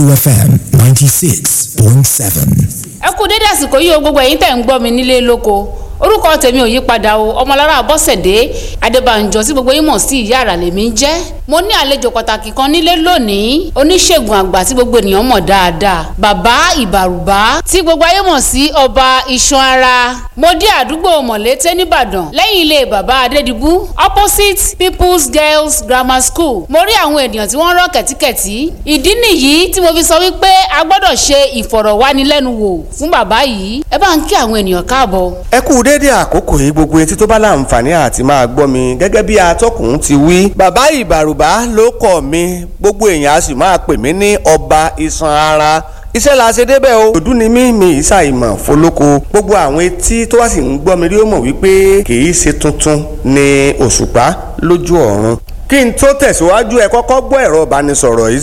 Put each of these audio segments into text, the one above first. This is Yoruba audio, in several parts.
32 FM 96.7. Ẹ kú dédé àsìkò yìí o, gbogbo ẹ̀yin tẹ̀ ń gbọ́ mi nílé lóko. Orúkọ tèmi ò yí padà o, Ọmọlára Bọ́sẹ̀dé Adébànjọ tí gbogbo yín mọ̀ sí Ìyá Àrà lèmi ń jẹ́. Mo ní àlejò pàtàkì kan nílé lónìí, oníṣègùn àgbà tí gbogbo ènìyàn mọ̀ dáadáa, Bàbá Ìbàrùbá tí gbogbo ayé mọ̀ sí Ọba Iṣan Ara. Mo dé àdúgbò Mọ̀lété nìbàdàn, lẹ́yìn ilé Bàbá Adédìbú, opposite People's Girls Grammar School. Mo rí àwọn ènìyàn tí wọ́n rọ́ kẹ̀tíkẹ̀tí. Ìdí nìyí tí mo fi sọ wípé a gbọ́dọ̀ ṣe ìfọ̀rọ̀wánilẹ́nuwò fún bàbá yìí. Ẹ bá ń kí àwọn ènìyàn káàbọ̀. Ẹ kú déédéé àkókò yìí, gbogbo etí tó bá láǹfààní àti máa gbọ́ mi. Gẹ́gẹ́ bí atọ́kùn ti wí, Bàbá Ìbàrùbá ló kọ̀ mí, gbogbo èèyàn a sì máa pè mí ní Ọba Iṣan Ara. Iṣẹ́ la ṣe débẹ̀ o. Òdú ni mí, mi ìsà ìmọ̀ fọlọ́kọ. Gbogbo àwọn etí tó wá sì ń gbọ́ mi rí ó mọ̀ wípé kì í ṣe tuntun ni òṣùpá lójú ọ̀run. Kí n tó tẹ̀síwájú, ẹ kọ́kọ́ gbọ́ ẹ̀rọ ìbánisọ̀rọ̀ yìí: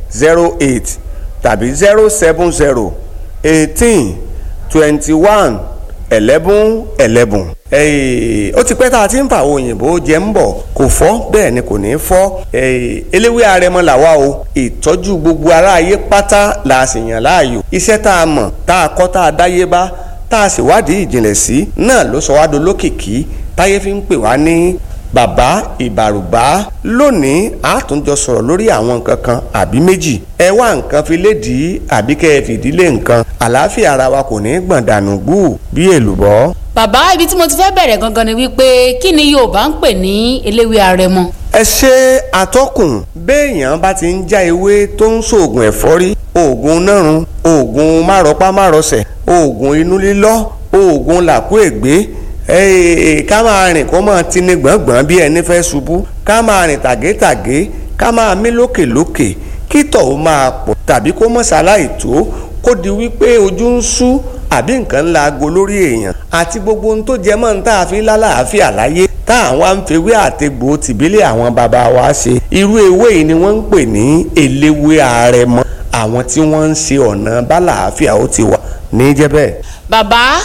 08033881008 tàbí 07018211111. Ó ti pẹ́ tá a ti ń fa àwọn òyìnbó jẹ ń bọ̀, kò fọ́, bẹ́ẹ̀ ni kò ní fọ́. Eléwé arẹmọ làwa o. Ìtọ́jú gbogbo aráyé pátá la sì yàn láàyò. Iṣẹ́ tá a mọ̀, tá a kọ́, tá a dáyé bá, tá a sì wádìí ìjìnlẹ̀ sí náà ló sọ wá dolókìkí táyé fi ń pè wá ní Bàbá Ìbàrùbá. Lónìí, a tún jọ sọ̀rọ̀ lórí àwọn nǹkan kan àbí méjì. Ẹ wá nǹkan fi lédìí àbí kẹ́ ẹ fìdílé nǹkan. Àlàáfíà ara wa kò ní gbọ̀n dànù gbù bí èlùbọ́. Bàbá, ibi tí mo ti fẹ́ bẹ̀rẹ̀ gangan ni wípé kí ni Yorùbá ń pè ní eléwé arẹmọ? Ẹ ṣe àtọkùn. Béèyàn bá ti ń já ewé tó ń ṣoògùn ẹ̀fọ́rí, oògùn nárun, oògùn márọpá márọsẹ̀, oògùn inú lílọ́, oògùn làkúègbé, ká máa rìn kó máa tini gbọ̀ngbọ̀n bí ẹni fẹ́ ṣubú, ká máa rìn tàgétàgé, ká máa mí lókèlókè, kí tọ̀ ó máa pọ̀ tàbí kó mọ̀ ṣaláì tó, kó di wípé ojú ń sú àbí nǹkan ńlá aago lórí èèyàn àti gbogbo ohun tó jẹ mọ́ ní tá a fi lálàáfíà láyé tá àwọn à ń fewé àtegbò tìbílẹ̀ àwọn bàbá wa ṣe. Irú ewé yìí ni wọ́n ń pè ní eléwé àrẹ̀mọ. Àwọn tí wọ́n ń ṣe ọ̀nà bálàáfíà ó ti wà ní jẹ́ bẹ́ẹ̀. Bàbá.